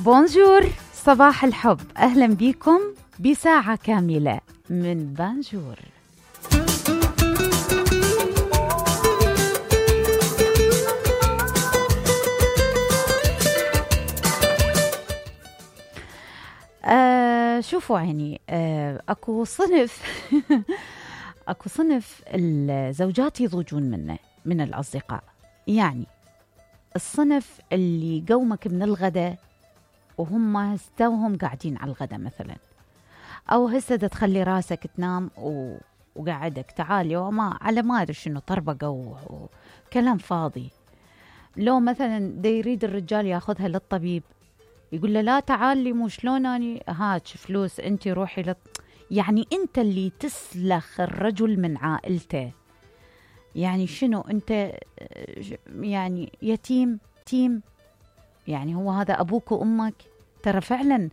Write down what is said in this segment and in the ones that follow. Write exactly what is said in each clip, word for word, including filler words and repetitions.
بونجور، صباح الحب، أهلا بكم بساعة كاملة من بانجور. آه شوفوا عيني، آه أكو صنف أكو صنف الزوجات يضوجون منه من الأصدقاء. يعني الصنف اللي قومك من الغداء وهم هستوهم قاعدين على الغداء مثلا، أو هسه دا تخلي راسك تنام و... وقعدك تعالي وما على ما أدري شنو طربقة وكلام فاضي. لو مثلا دا يريد الرجال ياخذها للطبيب، يقول له لا تعالي مو شلون اني هاك فلوس انت روحي لط... يعني انت اللي تسلخ الرجل من عائلته. يعني شنو انت يعني يتيم تيم؟ يعني هو هذا ابوك وامك؟ ترى فعلا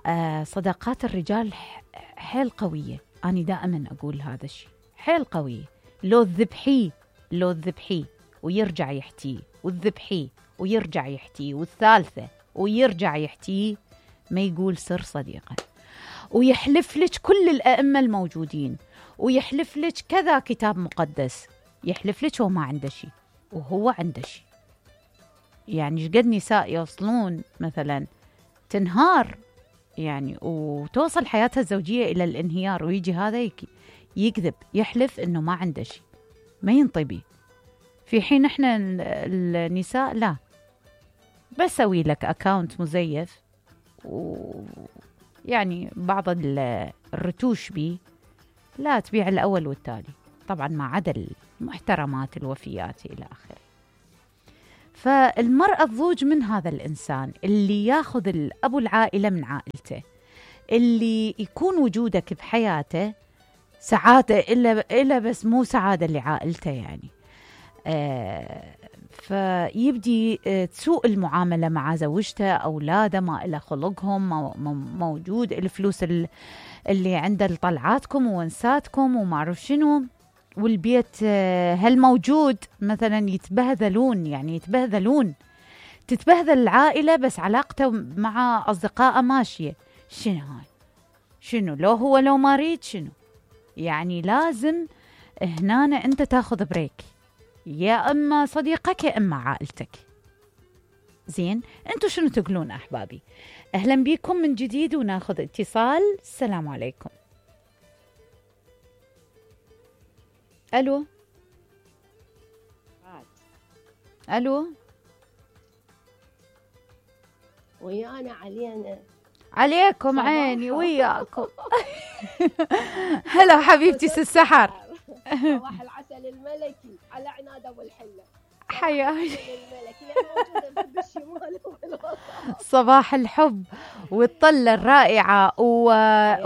آه صداقات الرجال حيل قوية. أنا دائما أقول هذا الشيء، حيل قوية. لو الذبحيه لو الذبحيه ويرجع يحتيه، والذبحيه ويرجع يحتيه، والثالثة ويرجع يحتيه، ما يقول سر صديقه، ويحلف لك كل الأئمة الموجودين، ويحلف لك كذا كتاب مقدس، يحلف لك هو ما عنده شيء وهو عنده شيء. يعني شقد نساء يوصلون مثلا تنهار يعني وتوصل حياتها الزوجية إلى الانهيار، ويجي هذا يكذب يحلف إنه ما عنده شيء، ما ينطبي، في حين إحنا النساء لا، بسوي لك أكاونت مزيف ويعني بعض الرتوش بي، لا تبيع الأول والتالي، طبعا ما عدا المحترمات الوفيات إلى آخره. فالمرأة تضوج من هذا الإنسان اللي ياخذ الأبو العائلة من عائلته، اللي يكون وجودك بحياته سعادة إلا إلا بس مو سعادة لعائلته يعني. آه فيبدي آه تسوء المعاملة مع زوجته، أولاده ما إلى خلقهم موجود، الفلوس اللي عنده لطلعاتكم وونساتكم وما أعرف شنو، والبيت هل موجود مثلا يتبهذلون، يعني يتبهذلون تتبهذل العائلة بس علاقته مع أصدقائه ماشية. شنو هاي؟ شنو لو هو لو ما ريد شنو؟ يعني لازم هنا أنت تاخذ بريك، يا أما صديقك يا أما عائلتك. زين، أنتوا شنو تقولون أحبابي؟ أهلا بكم من جديد وناخذ اتصال. السلام عليكم. الو الو ويانا علينا عليكم عيني وياكم. هلا حبيبتي ست سحر. صباح العسل الملكي على عناد ابو الحله. حياك. صباح الحب والطلة الرائعة و...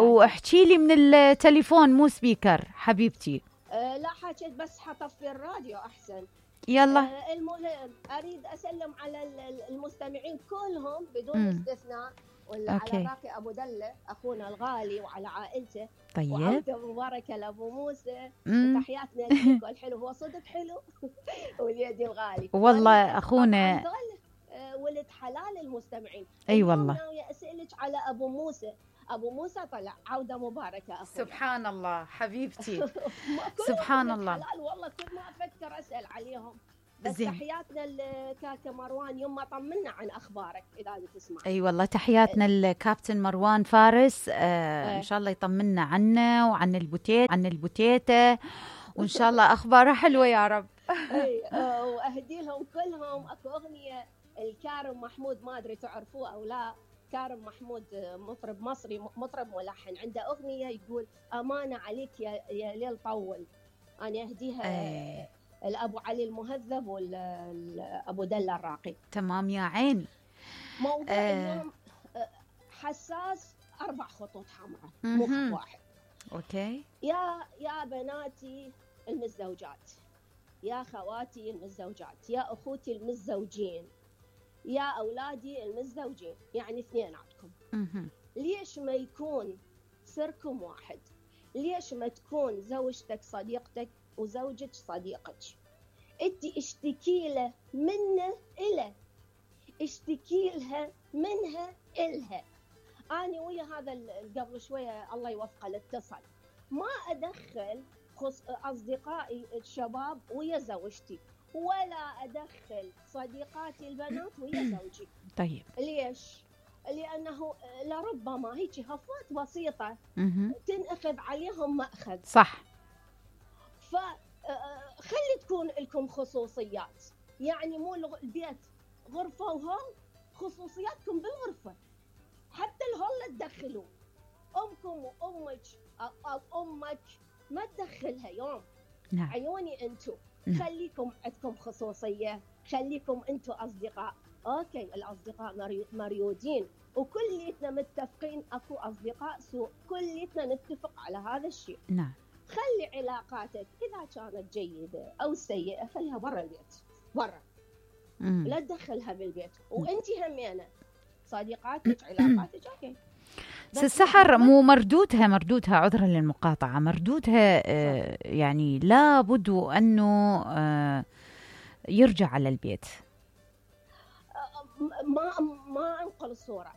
واحكي لي من التليفون مو سبيكر حبيبتي. أه لا حكيت بس حطفي الراديو أحسن. يلا. أه المهم أريد أسلم على المستمعين كلهم بدون م. استثناء، ولا على راقي أبو دلة أخونا الغالي وعلى عائلته. طيب. وعودة مباركة لأبو موسى م. وتحياتنا لك الحلو، هو صدق حلو. واليدي الغالي. والله أخونا أه ولد حلال المستمعين. أي أيوة والله. أنا أسألك على أبو موسى. أبو موسى طلع عودة مباركة أخونا. سبحان الله حبيبتي. سبحان الله. حلال والله، كل ما أفكر أسأل عليهم. بس زين. تحياتنا لكاكا مروان، يما طمنا عن أخبارك إذا تسمع. أي أيوة والله تحياتنا الكابتن مروان فارس. آه أه. إن شاء الله يطمنا عنه وعن البوتيت عن البوتيتة، وإن شاء الله أخباره حلوة يا رب. أي أه وأهدي لهم كلهم. أكو أغنية الكارم محمود، ما أدري تعرفوه أو لا. كارم محمود مطرب مصري، مطرب ملحن، عنده أغنية يقول أمانة عليك يا, يا ليل طول. أنا أهديها أيه. الأبو علي المهذب والأبو دلة الراقي. تمام يا عيني. موضوع أه. اليوم حساس، أربع خطوط حمراء مو خط واحد. أوكي. يا يا بناتي المتزوجات، يا خواتي المتزوجات، يا أخوتي المتزوجين، يا أولادي المتزوجين، يعني اثنيناتكم. ليش ما يكون سركم واحد؟ ليش ما تكون زوجتك صديقتك وزوجك صديقك؟ انت اشتكي له منه إله، اشتكي لها منها إلها. أنا ويا هذا قبل شوية الله يوفقه الاتصل، ما أدخل أصدقائي الشباب ويا زوجتي، ولا أدخل صديقاتي البنات ويا زوجي. طيب ليش؟ لأنه لربما هيك هفوات بسيطة تنأخذ عليهم مأخذ. صح. فخلي تكون لكم خصوصيات، يعني مو البيت غرفة وهول، خصوصياتكم بالغرفة، حتى الهول لا تدخلوا. أمكم وأمك أو أمك ما تدخلها يوم. نعم. عيوني أنتم. نعم. خليكم عندكم خصوصية، خليكم أنتم أصدقاء. أوكي الأصدقاء مريودين وكليتنا متفقين أكو أصدقاء سوء، كليتنا نتفق على هذا الشيء. نعم. خلي علاقاتك إذا كانت جيدة أو سيئة خليها برا البيت، برا. مم. لا تدخلها بالبيت. وأنتي همينة صديقاتك علاقاتك أوكي. السحر مو مردودها مردودها عذرا للمقاطعة، مردودها آه يعني لابد أنه آه يرجع على البيت. ما ما أنقل الصورة.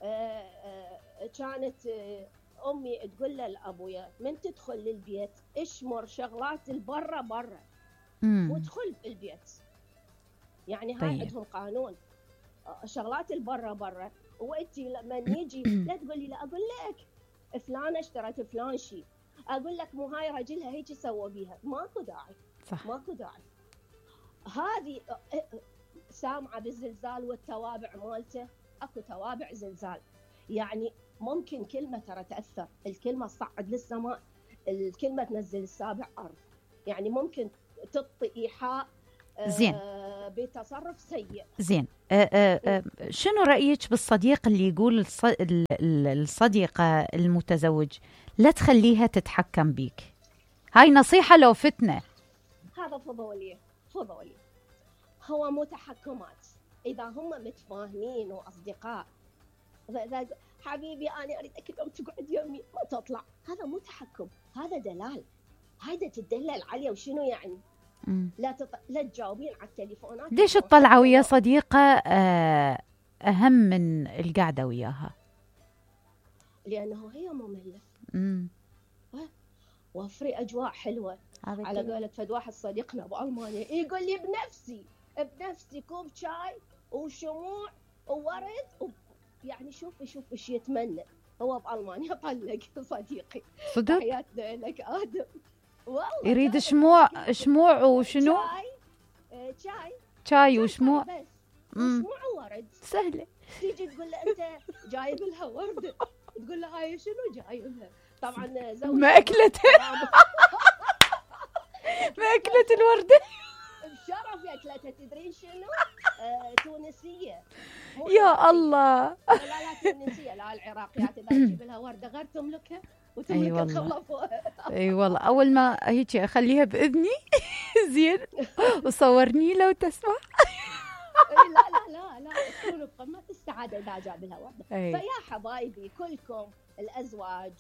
آه آه كانت آه أمي تقول لأبويا من تدخل للبيت اشمر شغلات البرة برا وادخل البيت. يعني هاي طيب. عندهم قانون شغلات البرة برا. وانتي لما يجي لا تقولي لا، اقول لك فلانه اشترت فلان شيء، اقول لك مو هاي رجلها هيك سوى بيها، ماكو داعي. صح. ماكو داعي. هذه سامعه بالزلزال والتوابع مالته، اكو توابع زلزال، يعني ممكن كلمه ترى تاثر، الكلمه تصعد للسماء، الكلمه تنزل السابع ارض، يعني ممكن تعطي ايحاء زين آه بتصرف سيء. زين أه أه أه شنو رأيك بالصديق اللي يقول الصديقة المتزوج لا تخليها تتحكم بيك؟ هاي نصيحة لو فتنة. هذا فضولي فضولي، هو مو تحكمات. إذا هم متفاهمين وأصدقاء، حبيبي أنا أريدك اليوم تقعد يومي ما تطلع، هذا مو تحكم، هذا دلال. هيدا تدلل عليه. وشنو يعني؟ مم. لا تط... لا تجاوبين على التليفونات. ليش الطلعة ويا صديقة أهم من القعدة وياها؟ لأنه هي مملة. امم وفري أجواء حلوة. على قولة فد واحد صديقنا بألمانيا يقول لي بنفسي بنفسي كوب شاي وشموع وورد و... يعني شوفي شوفي ايش يتمنى. هو بألمانيا طلق صديقي. صدق؟ حياتنا لك آدم. يريد شموع شموع وشنو؟ شاي شاي شاي وشموع بس وشموع وورد. سهلة. تيجي تقول له أنت جايب لها وردة، تقول له هاي شنو جايب لها؟ طبعا زوجي ما أكلتها ما أكلت الوردة بشرف أكلتها. تدرين شنو؟ آه، تونسية. يا الله. لا لا تونسية، لا العراقيات إذا تجيب لها وردة غير تملكها وتملك أي الخلفوها. اي والله اول ما هيك اخليها باذني زين وصورني لو تسمع. لا لا لا لا تكون بقمة السعادة إذا جاب لها وردة. فيا حبايبي كلكم الأزواج،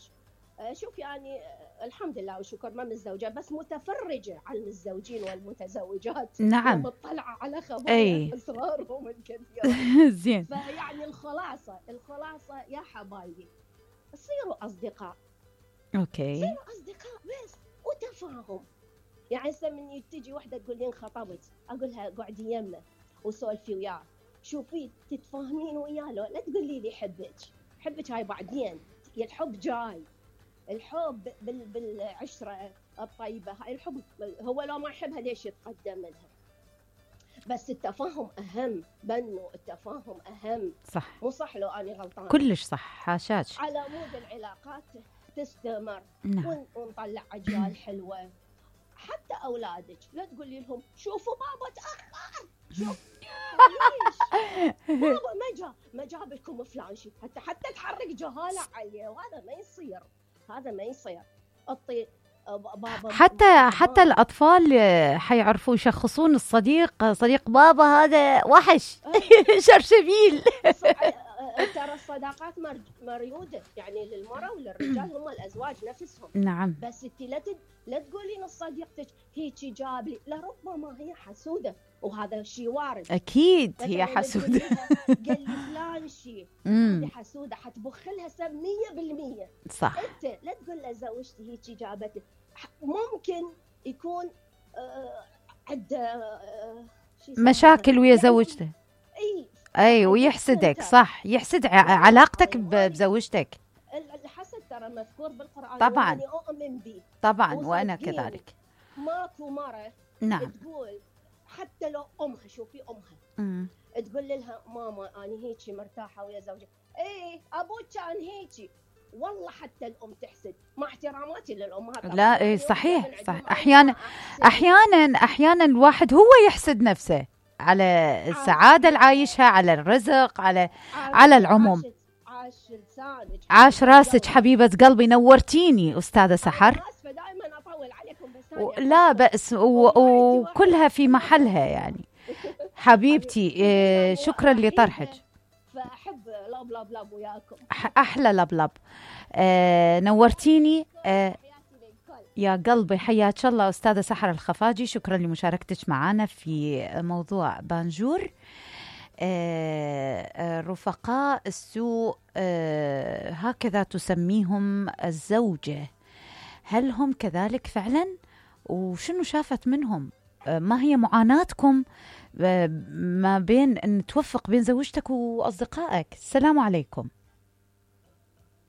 شوف يعني الحمد لله والشكر ما متزوجة، بس متفرجة على المتزوجين والمتزوجات. نعم. مطلعة على خبايا أسرارهم الكثيرة. زين. فيعني الخلاصة الخلاصة يا حبايبي صيروا أصدقاء. اوكي. صيروا أصدقاء بس وتفاهم. يعني هسه من تجي وحدة تقول لي انخطبت، أقولها قعدي يمه وسولفي وياه، شوفي تتفاهمين وياه، لو لا تقولي لي حبك حبك هاي بعدين، الحب جاي. الحب بال بالعشرة الطيبة، هاي الحب هو لو ما يحبها ليش يتقدم لها؟ بس التفاهم أهم. بنو التفاهم أهم. صح. مو صح لو أنا غلطانة؟ كلش صح حاشاك. على مود العلاقات تستمر. نعم. ونطلع أجيال حلوة. حتى أولادك لا تقولي لهم شوفوا بابا تأخر، شوف ليش بابا ما جاب ما جاب لكم فلان شيء، حتى حتى تحرك جهالة عليه، وهذا ما يصير. هذا ما يصير. أطي بابا حتى بابا. حتى الأطفال حيعرفوا يشخصون الصديق، صديق بابا هذا وحش شرشبيل. ترى الصداقات مريوده يعني للمراه وللرجال، هم الازواج نفسهم. نعم. بس انت لا تد... لا تقولين صديقتك هيجي جاب لي، لربما هي حسوده، وهذا شيء وارد. اكيد هي حسوده. قال لي فلان شيء، هذه حسوده حتبخ لها سب مية بالمية. صح. انت لا تقول له زوجتي هيجي جابت لي، ممكن يكون آه عنده آه مشاكل ويا زوجته. اي اي ويحسدك. صح، يحسد علاقتك بزوجتك. الحسد ترى مذكور بالقرآن طبعا، وأنا أؤمن به طبعا وأنا كذلك. ماكو مرة نعم تقول حتى لو أمها، شوفي أمها مم. تقول لها ماما أنا هيجي مرتاحة ويا زوجي، إيه أبوك كان هيجي، والله حتى الأم تحسد، مع احتراماتي للأمهات. لا إيه صحيح صح. أحيانا أحيانا أحيانا الواحد هو يحسد نفسه على السعادة اللي عايشها، على الرزق، على على العموم. عاش لسانك، عاش راسك حبيبة قلبي، نورتيني أستاذة سحر. اسفه دائما اطول عليكم بس و... لا بأس، وكلها في محلها يعني. حبيبتي إيه، شكرا لطرحك. فاحب لاب لاب لاب وياكم، احلى لاب لاب. آه نورتيني. آه يا قلبي حياك الله أستاذة سحر الخفاجي، شكرا لمشاركتك معنا في موضوع بانجور. آه رفقاء السوء آه هكذا تسميهم الزوجة، هل هم كذلك فعلا؟ وشنو شافت منهم؟ آه ما هي معاناتكم آه ما بين أن توفق بين زوجتك وأصدقائك؟ السلام عليكم.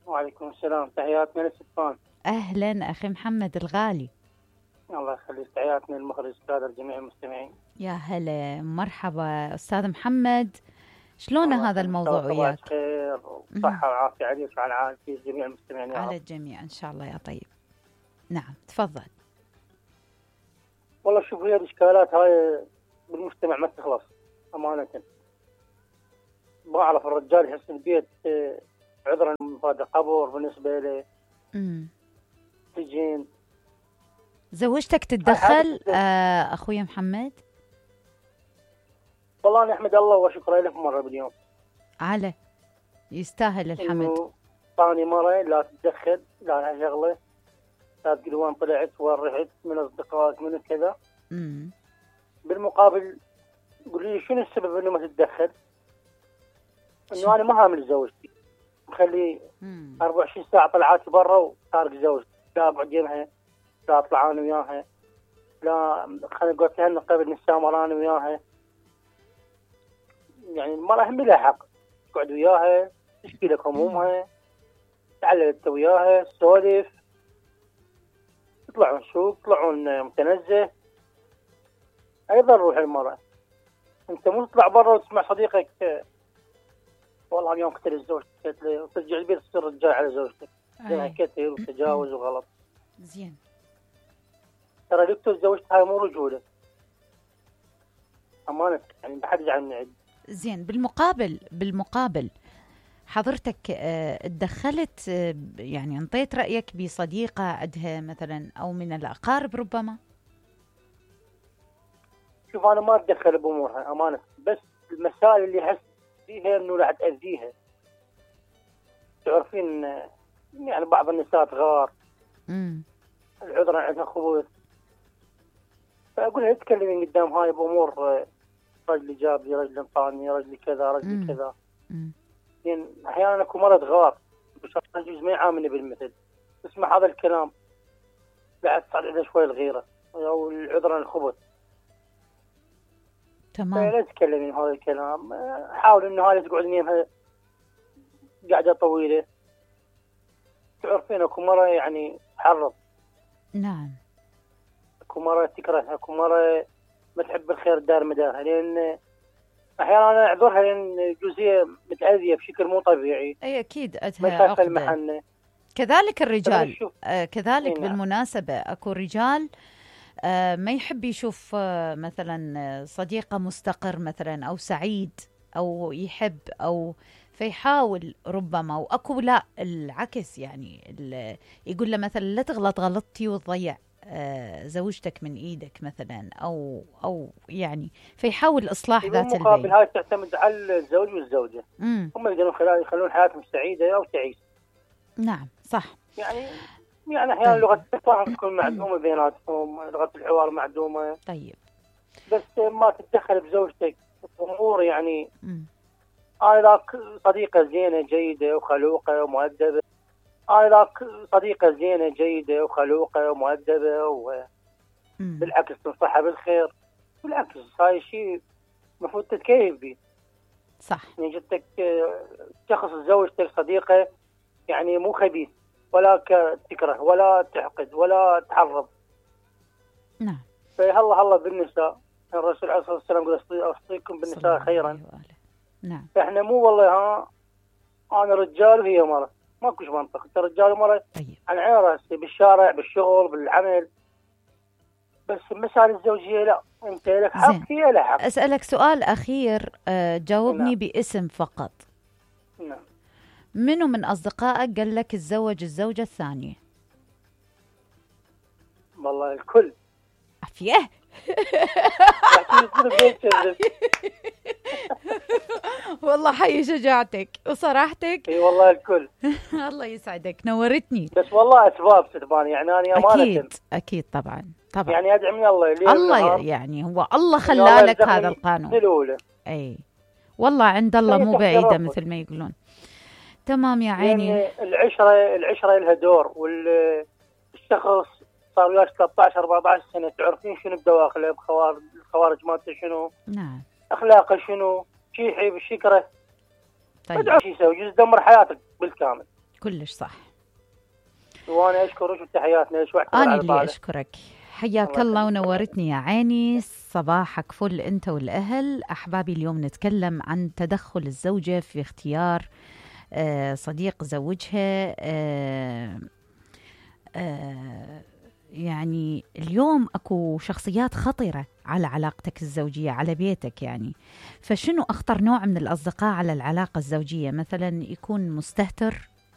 وعليكم السلام، تحياتنا للسلطان. أهلا أخي محمد الغالي. الله يخليك، تحياتنا للمخرج السادة لجميع المستمعين. يا هلا، مرحبا أستاذ محمد، شلون هذا الموضوع وياك؟ خير وصحة وعافية عليك وعلى عائلتي جميع المستمعين يا على الجميع إن شاء الله يا طيب. نعم تفضل. والله شوف، هي الإشكالات هاي بالمجتمع ما تخلص أمانة. بعرف الرجال يحس البيت عذرا هذا قبر بالنسبة له. امم سجين. زوجتك تتدخل آه أخوي محمد؟ والله نحمد الله وشكرا له مرة باليوم. على يستاهل الحمد. ثاني مرة لا تتدخل، لا لها شغلة، لا تقول وين طلعت وين رحت من أصدقائك من كذا. امم بالمقابل قولي لي شنو السبب إنه ما تتدخل؟ إنه أنا ما هامل زوجتي، مخلي أربعة وعشرين ساعة طلعات برا وتارك زوجتي، لا بعجبها، لا أطلع أنا وياها، لا خلينا نقول لها قبل نسامر أنا وياها. يعني المرأة هم لها حق تقعد وياها، تشكي لك همومها، تعلل انت وياها، تسولف، يطلعون سوق، يطلعون متنزه. ايضا روح المرأة، انت مو تطلع برا وتسمع صديقك والله اليوم قتل زوجتك وترجع البيت تصير رجال على زوجتك. زين كثير وتجاوز وغلط. زين ترى اللي يقتل زوجته هاي مو رجولة أمانة، يعني ما حد يزعل من عندي. زين بالمقابل بالمقابل حضرتك اتدخلت يعني انطيت رأيك بصديقة عندها مثلا أو من الأقارب ربما؟ شوف أنا ما أتدخل بأمورها أمانة، بس المسائل اللي أحس فيها إنه راح تأذيها. تعرفين يعني بعض النساء تغار، امم العذرا عندها خبث، فأقول لها تكلمين قدام هاي بأمور رجلي جاب لي، رجلي انطاني، رجلي كذا، رجلي كذا. يعني احيانا اكو مرض غار يجوز ما يعاملني بالمثل، تسمع هذا الكلام بعد تصعد عندها شوي الغيره او العذرا الخبث. تمام. لا تتكلمين هذا الكلام، حاول انه هاي تقعد نيمها قاعده طويله. تعرفين اكو مره يعني تحرض. نعم. اكو مره تكره، اكو مره ما تحب الخير دار مدارها، لان احيانا انا اعذرها لان جزئيه متاذيه بشكل مو طبيعي. اي اكيد عندها عقده. كذلك الرجال آه كذلك بالمناسبه اكو رجال آه ما يحب يشوف آه مثلا صديقه مستقر مثلا او سعيد او يحب او فيحاول ربما، واكو لا العكس يعني يقول له مثلا لا تغلط غلطتي وتضيع زوجتك من ايدك مثلا، او او يعني فيحاول اصلاح ذات البين. بالمقابل هاي تعتمد على الزوج والزوجه، مم. هم يقدرون خلال يخلون حياتهم سعيده او تعيش. نعم صح. يعني يعني احيانا لغه التفاهم تكون معدومه بيناتهم، لغه الحوار معدومه. طيب بس ما تتدخل بزوجتك امور يعني. مم. انا ذاك صديقه زينه جيده وخلوقه ومؤدبه، انا ذاك صديقه زينه جيده وخلوقه ومؤدبه وبالعكس تنصحها بالخير. بالعكس هاي شيء المفروض تتكيف به. صح. يعني جدك شخص زوجتك صديقه يعني مو خبيث ولا تكره ولا تحقد ولا تحرض. نعم. فهلا هلا بالنساء، الرسول عليه الصلاه والسلام قال اوصيكم بالنساء خيرا. نعم. فاحنا مو والله ها انا رجال وهي مرة، ماكوش منطق، انت رجال ومرة. طيب. عن عين راسي بالشارع بالشغل بالعمل، بس المسائل الزوجيه لا، انت لك حق هي لها حق. اسالك سؤال اخير، أه جاوبني. نعم. باسم فقط. نعم. منو من اصدقائك قال لك تزوج الزوجه الثانيه؟ والله الكل. عافيه. والله حي شجاعتك وصراحتك. اي والله الكل. الله يسعدك، نورتني. بس والله اسباب ستبان يعني انا امانه. اكيد اكيد طبعا طبعا. يعني ادعي من الله الله يعني هو الله خلالك هذا القانون. الأولى. اي والله عند الله مو بعيده مثل ما يقولون. تمام يا عيني. يعني العشره العشره لها دور، والشخص صار وياك ثلاثة عشر أربعة عشر سنه تعرفين شنو بدواخله، بخوارج الخوارج مالته شنو. نعم. اخلاقه شنو، شي يحب شي يكره. طيب. شو يسوي؟ يجوز يدمر حياتك بالكامل. كلش صح. وانا اشكرك وتحياتنا لك واعتذر انا على اللي طالع. اشكرك، حياك الله ونورتني يا عيني. صباحك فل انت والاهل. احبابي اليوم نتكلم عن تدخل الزوجه في اختيار آه صديق زوجها. آه آه يعني اليوم اكو شخصيات خطرة على علاقتك الزوجية، على بيتك يعني. فشنو اخطر نوع من الاصدقاء على العلاقة الزوجية؟ مثلا يكون مستهتر،